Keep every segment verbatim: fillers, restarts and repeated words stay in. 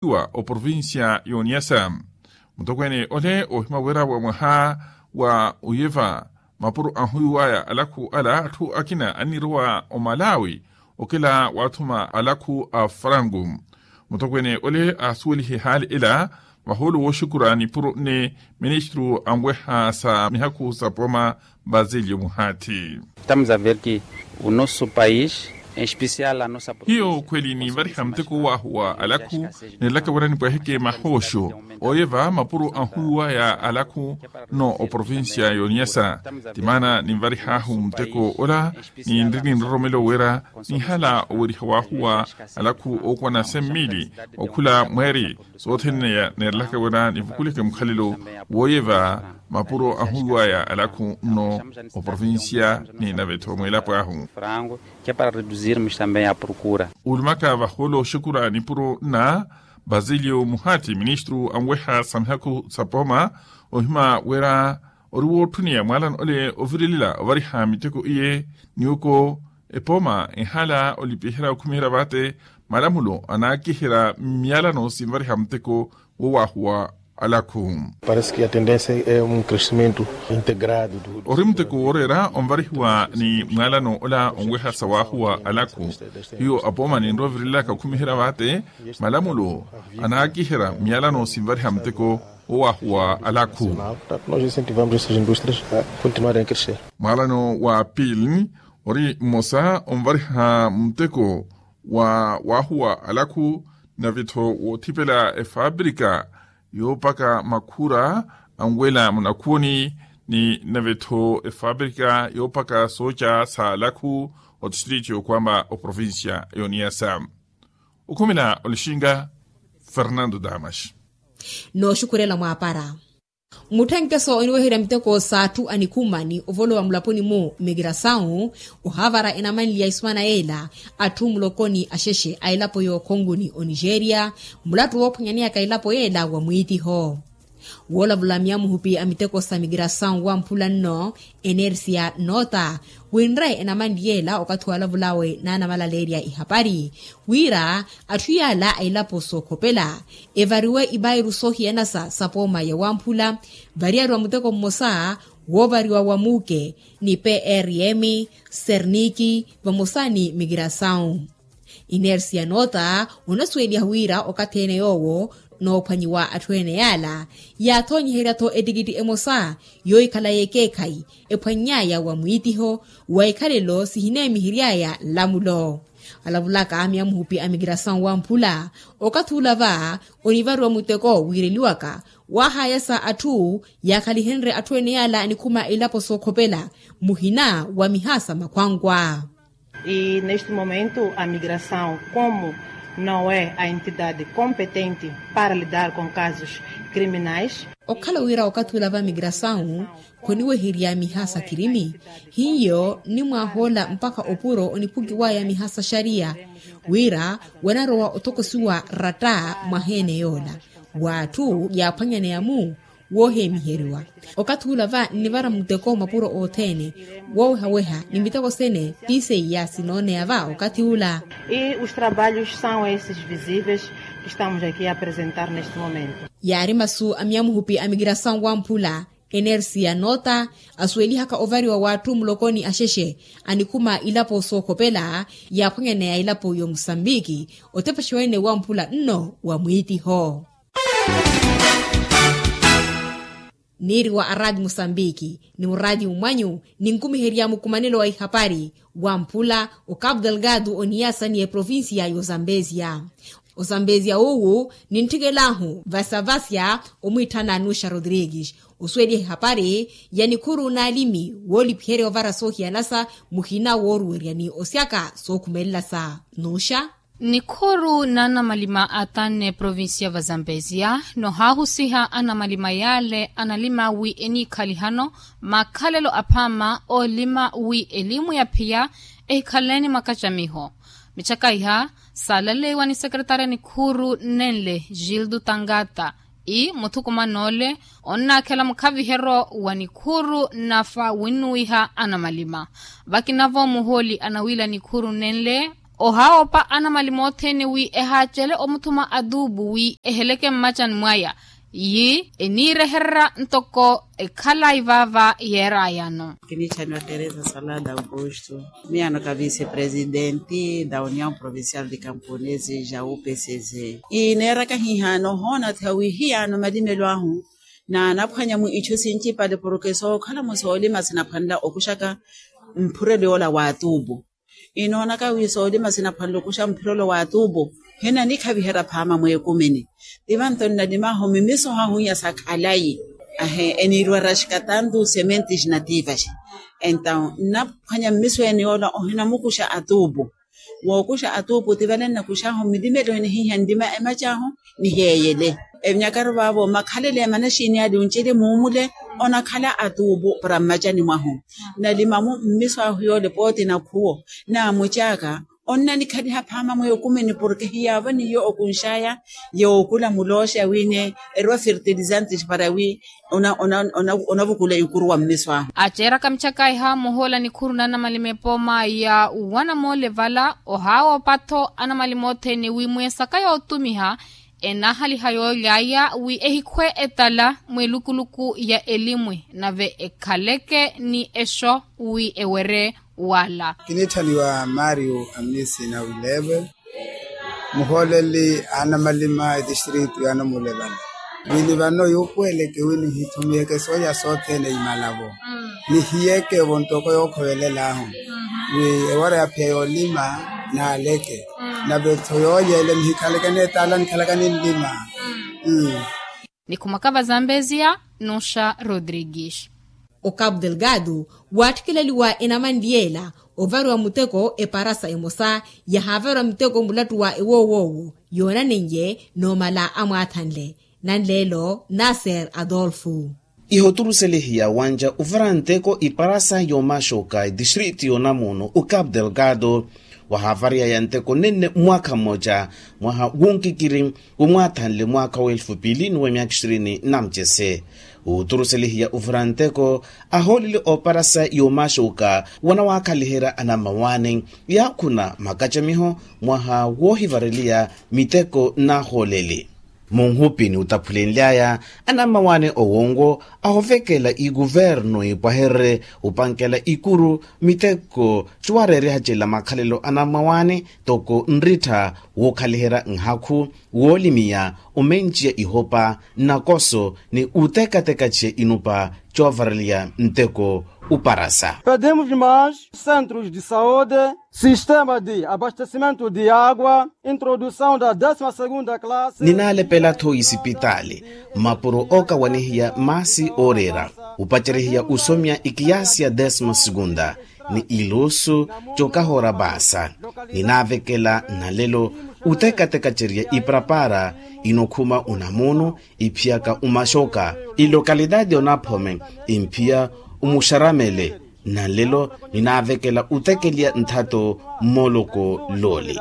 wa oprovincia y'oniyasa. Mutokweene ole oohima wira wa mwaha wa uyeva mapuro anhuwiwaya alakhu ala atthu akina annirowa omalawi okela waathuma alakhu a frangu. Mutokweene ole aasuwelihe haali ela vahoolo wooxukura nipuro nne ministru anweha sa mihakhu sa pooma basilio muhati. Estamos a ver que o nosso país, em especial a nossa hiyo khweli ninvariha muteko w'ahu wa alakhu, nilaka wira nipweheke mahooxo ooyeva mapuro anhuwiwaya alakhu nno oprovincia y'oniyasa. Ti maana ninvarih'ahu muteko ola, ninri ninroromelo wira nihala oweriha w'ahu wa alakhu ookwana semmili okhula mweeri sothene neerelaka wira nivukuleke mukhalelo wooyeva mapuro anhuwiwaya alakhu nno oprovincia ni navetho mwilapo ahu. Frango, que é para reduzirmos também a procura. Ulumaka vahoolo oxukura nipuro na basilio muhati ministru anweha sa mihakhu sa pooma, ohima wira ori wootthuniya mwaalano ole ovirilela ovariha miteko iye, niwoko epooma ehala olipiherya okhumiherya vaate malamulo anaakiherya myalano sinvariha muteko wo waahuwa alakhu. Parece que a tendência é um crescimento integrado do ori muteko wooreera onvarihiwa ni mwaalano ola onweha sa waahuwa alakhu. Hiyo apooma ninrovirilaka okhumiherya vaate malamulo anaakiherya myalano sinvariha muteko wo waahuwa alakhu. Nós incentivamos essas indústrias a continuarem a crescer. Mwaalano wa pili ori mmosa onvariha muteko wa waahuwa alakhu, navitho woothipela efaabrika yoopaka makhura anwela munakhuuni, ni navitho efaabrika yoopaka sooca sa alakhu otistriti yokwamba oprovincia y'oniyasa. Okhumela olixinga fernando damas. Nooxukhurela mwaapara. Mutthenkeso oniweherya miteko s'atthu anikhuma ni ovolowa mulaponi-mu migrasawu ohaavara enamanliya isumana yeela atthu mulokoni axexe a elapo y'okhongoni onigeria. Mulattu woophwanyaneyaka elapo yeela wa mwiitiho woolavula miyamuhupi a miteko sa migrasawu wamphula nno enersia noota winre enamanli yeela okathi walavulawe n'anamalaleerya ihapari wira atthu yaala a elapo sookhopela evariwe ipairu soohiyanasa sa pooma ya wamphula variyariwa muteko mmosa woovariwa wa muuke ni prm serniki vamosa ni mikirasawu. Inersia noota onasuweliha wira okathi ene yoowo noophwanyiwa atthu ene yaala yaathonyiherya-tho etikitti emosa yoohikhala y'ekeekhayi ephwanny'aya wa mwiitiho wa ikhalelo sihineemihery'aya nlamulo. Alavulaka miyamuhupi a mikirasawu wamphula okathi ula va onivariwa muteko wiireliwaka waahayasa atthu yaakhalihenrye atthu ene yaala anikhuma elapo sookhopela muhina wa mihaasa makhwankwa. E neste momento a migração como não é a entidade competente para lidar com casos criminais. Okhala wira okathi ula va migrasawu khoniweherya miha sa kirimi hiyo nnimwaahoola mpakha opuro oniphukiwaya miha sa xariya wira wanarowa othokosiwa ratta mwaha ene yoola w'atthu yaaphwanyaneya-mu woohemiheriwa. Okathi ula va nnivara muteko mapuro othene woowehaweha ni miteko sene ti seiya sinooneya va okathi ula. E os trabalhos são esses visíveis que estamos aqui a apresentar neste momento. Yaari masu a miyamuhupi a mikirasawu wamphula enersia noota asuwelihaka ovariwa w'atthu mulokoni axexe anikhuma ilapo sookhopela yaaphwanyaneya ilapo y'omusambiki otepexa wene wamphula nno wa mwiitiho. Niiriwa a raati musambiki ni muraati mwanyu ninkumiherya mukumanelo wa ihapari wamphula o cabo delgado oniyasa ni eprovincia y'ozambesia. Ozambesia uwu nintthikelahu vasavasya omwiitthana nuxa rodrigues osuweliha ehapari ya nikhuru n'alimi woolipiherya ovara soohiyanasa muhina wooruwerya ni osyaka sookhumelela sa nuxa. Nikhuru n'anamalima a tanne provincia va zambezia nohaahusiha anamalima yaale analima wi eniikhalihano makhalelo aphaama oolima wi elimu ya phiya ehikhaleeni makacamiho. Michakaiha saalaleiwa ni sekeretari a nikhuru nenle gildo tangata i muthukuman'ole onnaakhela mukhaviheryo wa nikhuru nafa winnuwiha anamalima. Vakinavo muhooli anawiila nikhuru nenle Ohaawopa anamali mothene wi ehaacele omuthuma atuupu wi eheleke mmacani mwaya. Yi eniirehererya ntoko ekhalayi vaava yeerayano. Kiniitthaniwa teresa salada augusto. Miyano ka vice presidenti da union provincial de camponese ja upcz. Ineeraka hihaano ohoona thiha wi hiyaano malimelo ahu naanaphwanya mu itthu sincipale porke sookhala mu soolima sinaphwanela okuxaka mphurelo yoola wa atuupu. Inoonaka wi soolima sinaphwanela okuxa mphurelo wa atuupu hinanikhaviherya phaama mweekumini. Tivanto nnalimahu mimisoho ahu inya sa khalayi ahe eniirwa raxika tantu sementes nativas. Entaw nnaphwanya mmiso ene yoola ohinamukuxa atuupu. Wookuxa atuupu ti vale nnakuxahu mmilimelo ene hiiha nlima emacahu niheeyele. Evinyakaru vaavo makhalele emanaxini ale oncele muumule onakhala atuupu para mmacani mwahu. Nalimamu mmiso ahu yoole pooti nakhuwo naamucaaka. Onnanikhaliha phaama mweekumini porke hiyaavanihiyo okunxaya yookula mulooxa wine erwa fertilizantes para wi onavukula ikuru wa mmiso ahu. Aceeraka michakaiha muhoola nikhuru na anamalima epooma ya wanamoole vala ohaawopa-tho anamali mothene wi mweesaka yootumiha enahaliha yoolyaya wi ehikhwe etala mwelukuluku ya elimwi nave ekhaleke ni exo wi ewere wala. Kiniitthaniwa mario amisi na wileve muhooleli anamalima etistritu ya namulevala. Wini vano yuupuweleke wi nihithumiyeke sooya sothene imalavo nihiyeke vonttoko yookhovelel'ahu wi ewara yaphiya yoolima naaleke nave-tho yooyele nihikhaleke neetala nikhalaka ninlima. Nikhumaka vazambezia nuxa rodrigues. Ocapo delgado waatthikileliwa enamanli yeela ovariwa muteko eparasa emosa yahaavariwa muteko mulattu wa ewoowoowo yoonaneiye noomala amwaathanle nanleelo naser adolfo. Ihoturuselihiya wanja ovara nteko iparasa yoomaxoka etistritu yoonamuno ocapo delgado wahaavariyaya nteko nenne mwaakha mmoja mwaha wonkikiri womwaathanle mwaakha wa elfu piili ni wa myaakha ishirini na mucese. Wuuturuselihiya ovura nteko ahooleli ooparasa yoomaxuka wanawaakhaliherya anammawaani yaakhuna makacamiho mwaha woohivareliya miteko n'ahooleli. Munhupi ni utaphulenly'aya anammawaani owonwo ahovekela ikuvernu ipwahererye opankela ikuru miteko cuwareeryaha cela makhalelo anammawaani toko nrittha wookhaliherya nhakhu woolimiya omenciya ihopa nnakoso ni utekateka ciya inupa coovareliya nteko uparasa. Pedimos mais centros de saúde, sistema de abastecimento de água, introdução da décima segunda classe. Ninaalepela-tho isipitaali mapuro ookawanihiya maasi ooreera upacerihiya usomya ikiyaasi ya décima segunda ni iluusu cokahoora paasa. Ninaavekela nalelo utekateka ceriya iparapara inokhuma unamuno iphiyaka umaxoka ilokalitati onaphome imphiya umuxaramele. Nalelo ninaavekela utekeliya nthato mmoloko looli.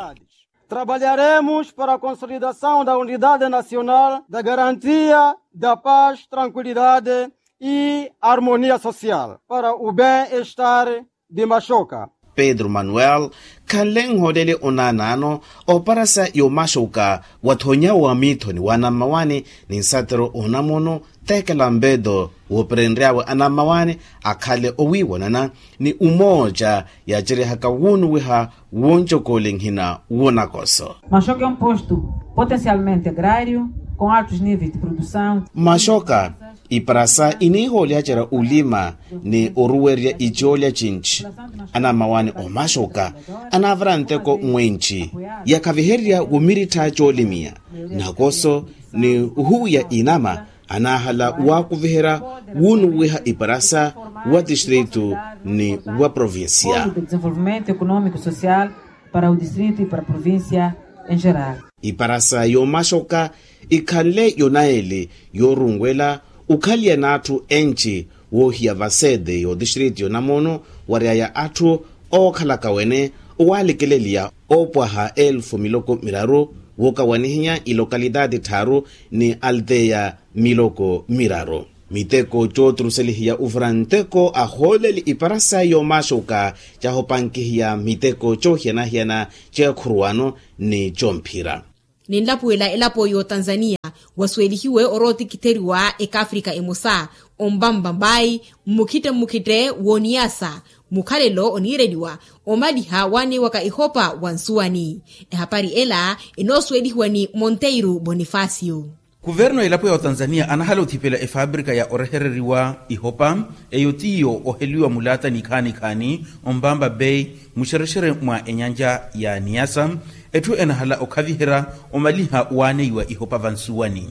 Trabalharemos para a consolidação da unidade nacional da garantia da paz, tranquilidade e harmonia social para o bem-estar de maxoka. Pedro manuel khanle nhooleli onaanaano oparasa yomaxoka wathonya wa miithoni wa anammawaani ni nsatero onamuno teekela mpeto wooperenry'awe anammawaani akhale owiiwanana ni umooca yaaceryehaka wuunuwiha woncokoole nhina wonakoso. Maxoka é um posto potencialmente agrário com altos níveis de produção. Maxoka iparasa iniihoolyacerya olima ni oruwerya icoolya cinci. Anammawaani omaxoka anaavara nteko mwenci yakhavihererya womirittha coolimiya nakoso ni ohuwiya inama anaahala waakuviherya wuunuwiha iparasa wa tistritu ni wa provincia. Desenvolvimento economico social para o distrito e para a provincia em geral. Iparasa yomaxoka ikhanle yonaeli yoorunwela okhaliya n'atthu enci woohiya vasete yotistritu yonamuno wary'aya atthu ookhalaka wene owaalikeleliya oopwaha elfu miloko miraru wookawanihinya ilokalitati tthaaru ni alteya miloko miraru. Miteko cooturuselihiya uvura nteko ahooleli ipara sayi yoomaxuka cahopankihiya miteko coohiyana-hiyana ceekhuruwano ni comphira. Ninlapuwela elapo y'otanzaniya wasuwelihiwe orootikitheriwa ekafrika emosa ombamba mbayi mmukhitte mmukhitte w'oniyasa mukhalelo oniireliwa omaliha waaneiwaka ihopa wa nsuwani. Ehapari ela enoosuwelihiwa ni monteiro bonifacio. Kuverno elapo ya otanzaniya anahala othipela efabrika ya orehereriwa ihopa eyo tiyo oheliwa mulaata nikhaani-khaani ombamba bei muxerexere mwa enyanja ya niyasa. Etthu enahala okhaviherya omaliha waaneiwa ihopa vansuwani.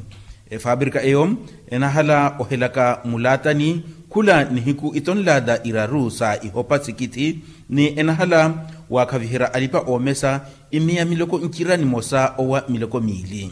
Efabrika eyo enahala ohelaka mulaatani khula nihiku itonlaata iraru sa ihopa sikithi ni enahala waakhaviherya alipa oomesa imiya miloko ncira nimosa owa miloko miili.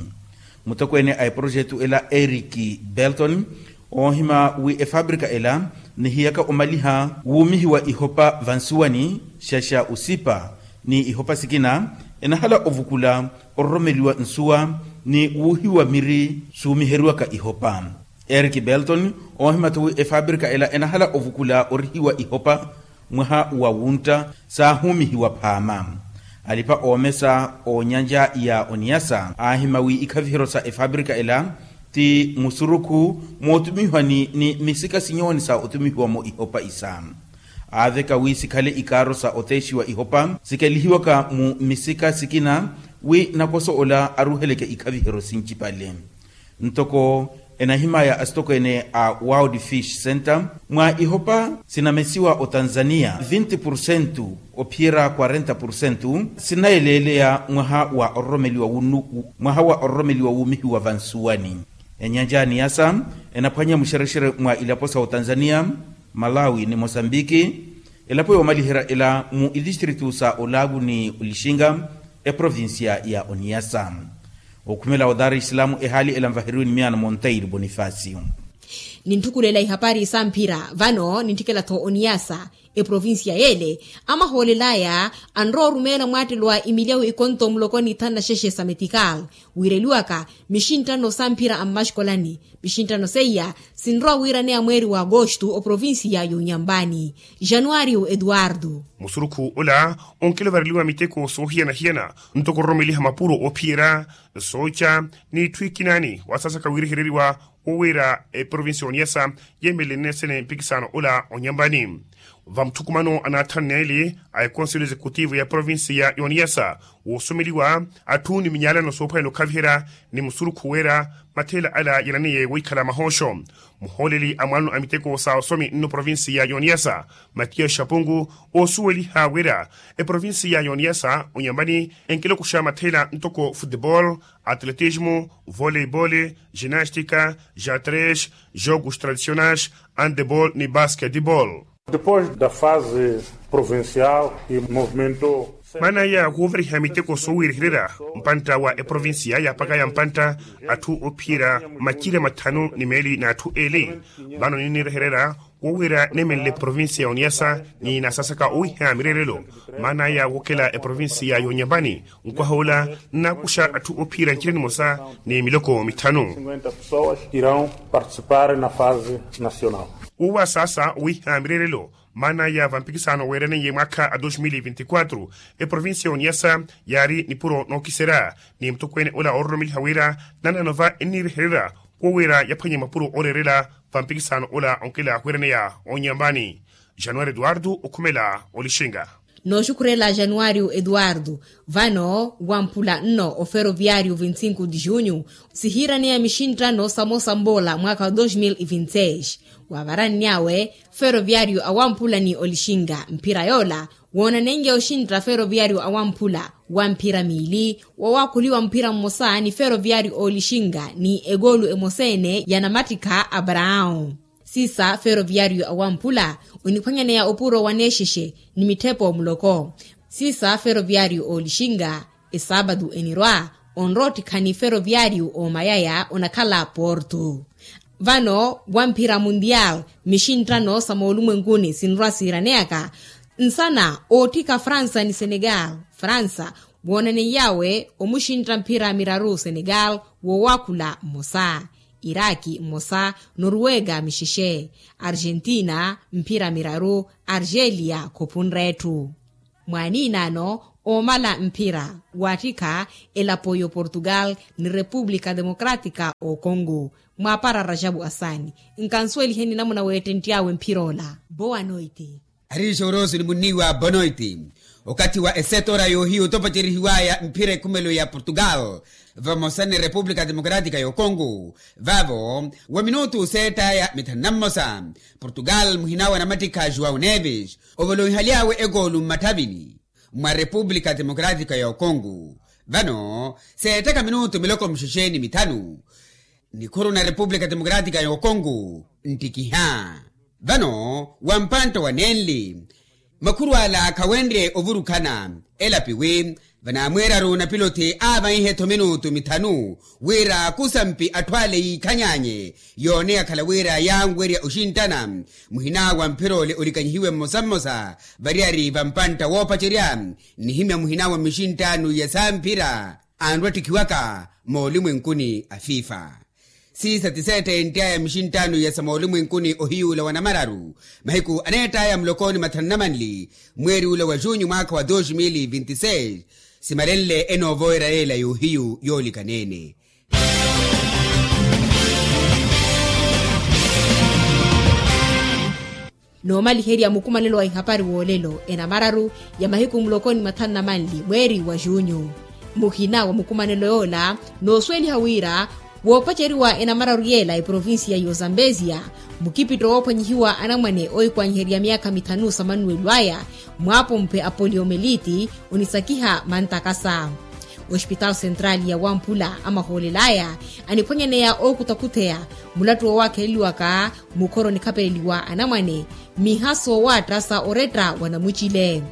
Mutokweene a eprojetu ela eric belton oohima wi efabrika ela nihiyaka omaliha wuumihiwa ihopa vansuwani xaxa usipa ni ihopa sikina enahala ovukula ororomeliwa nsuwa ni wuuhiwa miri suumiheriwaka ihopa. Eric belton oohima-tho wi efabrika ela enahala ovukula orihiwa ihopa mwaha wa wuntta saahuumihiwa phaama. Alipa oomesa oonyanja ya oniyasa aahima wi ikhaviheryo sa efabrika ela ti musurukhu mootumihwani ni misika sinyooni sa otumihiwa-mo ihopa isa. Aaveka wi sikhale ikaaro sa oteexiwa ihopa sikelihiwaka mu misika sikina wi nakoso ola aruheleke ikhaviheryo sincipale. Ntoko enahimaya asitokweene a world fish center mwa ihopa sinamesiwa otanzaniya vinti porsentu ophiyerya kwarenta porsentu sinayeleeleya mwaha wa ororomeliwa wunu mwaha wa ororomeliwa wuumihiwa vansuwani. Enyanja ya niyasa enaphwanya muxerexere mwa ilapo sa otanzaniya, malawi ni mosambiki. Elapo yoomaliherya ela mu itistritu sa olaavu ni olixinga eprovincia ya oniyasa. Okhumela o dar es salaam ehaali ela nvaheriwe ni miyaano monteiro bonifacio. Nintthukula ela ihapari samphira vano nintthikela-tho oniyasa eprovincia yeele amahoolelaya anrowa orumeela mwaattelo wa imilyawu ikonto muloko ni thanu na xexe sa metikal wiireliwaka mixinttano samphira a mmaxikolani. Mixinttano seiya sinrowa wiiraneya mweeri wa agosto oprovincia y'onyambani. Januario eduardo. Musurukhu ola onkilovareliwa miteko soohiyana-hiyana ntoko ororomeliha mapuro oophiyerya sooca n'itthu ikinaani wasaasaka wiirihereriwa wowiira eprovincia y'oniyasa yeemelele nnesene mpikisano ola onyambani. Vamutthukumano anaatthanneeli a ekonselho executivo ya provincia y'oniyasa woosomeliwa atthu ni minyaalano soophwanyana okhaviherya ni musurukhu weera matheela ala yananiye wohikhala mahooxo. Muhooleli a mwaano a miteko sa osomi nno provincia y'oniyasa matiya xapungu oosuweliha wira eprovincia y'oniyasa onyambani enkilokuxa matheela ntoko futebol, atletismo, voleibol, ginastika, jatres, jogos tradicionais, handebol ni basketbol. Depois da fase provincial e movimento. Maana ya woovariha miteko soowiirihererya mpantta wa eprovincia yaapakaya mpantta atthu ophiyerya macira mathanu ni meeli n'atthu eeli. Vano ninnirehererya wowiira neemenle provincia y'oniyasa ni naasasaka owiha mireerelo maana ya wookela eprovincia y'onyambani. Nkwaha ola nnaakuxa atthu ophiyerya ncira nimosa ni miloko mithanu. Cinquenta pessoas irão participar na fase nacional. Wowasaasa owiha mireerelo maana ya vampikisano weeraneiye mwaakha a dos mil vinti quatro eprovincia y'oniyasa yaari nipuro nookiserya ni mutokweene ola oororomeliha wira nananova ennirehererya wowiira yaphwanye mapuro ooreerela vampikisano ola onkela wiraneya onyambani. Januari eduardo okhumela olixinga. Nooxukhurela januari eduardo. Vano wamphula nno oferoviario vinti cinco de junho sihiiraneya mixinttano samosa mboola mwaakha wa dos mil vinti seis. Waavarannyawe feroviario awamphula ni olixinga mphira yoola woonanenrye oxintta feroviario awamphula wa mphira miili woowaakhuliwa mphira mmosa ni feroviario oolixinga ni ekoolu emosa-ene ya namattikha abraão. Siisa feroviario awamphula oniphwanyaneya opuro wa neexexe ni mitthepo muloko. Siisa feroviario oolixinga esaapatu enirwa onrowa ottikha ni feroviario oomayaya onakhala porto. Vano wamphira mundial mixinttano sa moolumwenkuni sinrwa siiraneyaka nsana ootthika fransa ni senegal. Fransa woonaneiy'awe omuxintta mphira miraru senegal woowaakhula mmosa. Iraki mmosa, noruwega mixexe, argentina mphira miraru, argelia khophunre etthu. Mwaaniinaano oomala mphira waattikha elapo y'oportugal ni repupulika democratika okongo. Mwaapara rajabu asaani, nkansuweliheni namuna weettenttyawe mphira ola. Boa noiti. Ariixa oroosu ni munniiwa bonoiti. Okathi wa esetora yoohiyu topocerihiwaya mphira ekhumelo ya portugal vamosa ni repupulika democratika y'okongo, vavo wa minutu seettaya mithanu na mmosa, portugal muhina wa namattikha joão neves ovolonhaly'awe ekoolu mmatthavini mwa repupulika democratika y'okongo. Vano seettaka minutu miloko muxexe ni mithanu, nikhuru na repupulika democratika y'okongo nttikiha. Vano wa mpantta wa nenli, makhuru ala khawenrye ovurukhana. Elapiwi vanaamweeraru na pilothi aavaihe-tho minutu mithanu wira kusampi atthu ale yiikhanyanye, yooneya khala wira yaanwerya oxinttana. Muhina wa mphira ole olikanyihiwe mmosa mmosa variyari va mpantta woopacerya, nnihimya muhina wa mixinttaanu ya samphira anrwattikhiwaka moolimwenkuni a fifa. Siisa ti seettentt'aya mixinttaanu ya sa moolimwenkuni ohiyuula wa namararu, mahiku aneett'aya mulokoni mathanu na manli mweeri ula wa junyu mwaakha wa dos mil vinti seis, simalenle enoovoyera yeela y'ohiyu yoolikaneene. Noomaliherya mukumanelo wa ihapari w'olelo enamararu ya mahiku muloko ni mathanu na manli mweeri wa junyu. Muhina wa mukumanelo yoola noosuweliha wira woopaceriwa enamararu yeela eprovincia y'ozambezia, mukipitto woophwanyihiwa anamwane oohikwanyiherya myaakha mithanu sa manuwelo aya, mwaapompe a poliomeliti onisakiha mantakasa. Ospitaal central ya wamphula amahoolel'aya aniphwanyaneya ookutakhutheya mulattu woowakheleliwaka mukhoro nikhapeleliwa anamwane, miha soowaatta sa oretta wa namucile.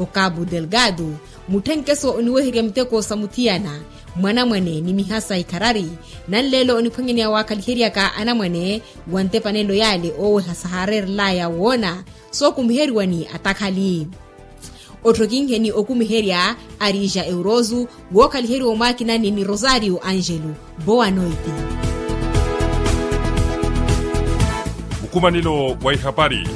Okabu delgado mutthenkeso oniweherya miteko sa muthiyana mwanamwane ni miha sa ikharari, nanleelo oniphwanyaneya waakhaliheryaka anamwane wa ntepanelo yaale ooweha sahaareerel'aya woona sookumiheriwa ni atakhali. Otthokinheni okumiherya arija eurozu wookhaliheriwa omwakinani ni rosario angelo. Boa noite. Mukumanelo wa ihapari.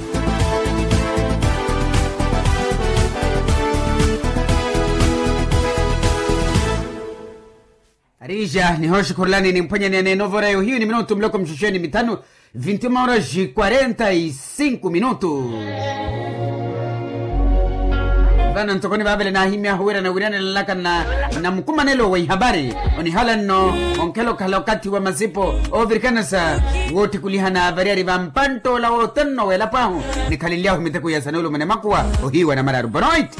Arija nihooxikhurulani nimphwanyaneya n'enovora yohiyu ni minutu muloko muxuxeni mithanu. Vinti uma horas quarenta e cinco minutu. Vano ntoko nivaavele naahimyahu wira nawiryanela nlaka na mukumanelo wa ihapari. Onihala nno onkhela okhala okathi wa masipo oovirikanasa woottikulihana variyari va mpantt'ola wothene oweelapwahu. Nikhalenly'ahu miteko ya sanuwelo mwa namakuwa ohiiwa namararu bonoit.